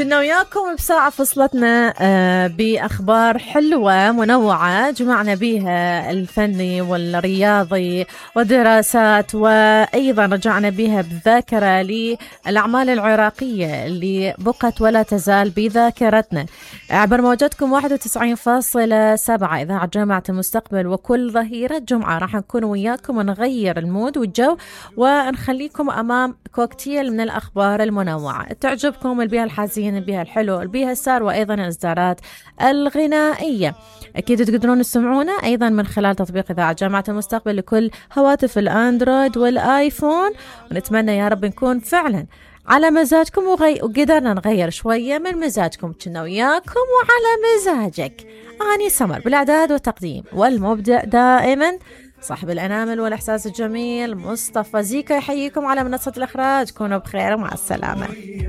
كنا وياكم بساعة فصلتنا بأخبار حلوة منوعة جمعنا بيها الفني والرياضي ودراسات، وأيضا رجعنا بيها بالذاكرة للأعمال العراقية اللي بقت ولا تزال بذاكرتنا عبر موجتكم 91.7 إذاعة جامعة المستقبل. وكل ظهيرة جمعة راح نكون وياكم ونغير المود والجو ونخليكم أمام كوكتيل من الأخبار المنوعة تعجبكم، اللي بيها الحزين، اللي بيها الحلو، اللي بيها السار، وأيضا الإصدارات الغنائية. أكيد تقدرون تسمعونا أيضا من خلال تطبيق إذاعة جامعة المستقبل لكل هواتف الأندرويد والآيفون، ونتمنى يا رب نكون فعلا على مزاجكم وقدرنا نغير شوية من مزاجكم. كنا وياكم وعلى مزاجك. أني سمر بالإعداد والتقديم، والمبدع دائما صاحب الأنامل والإحساس الجميل مصطفى زيكا يحييكم على منصة الإخراج. كونوا بخير ومع السلامة.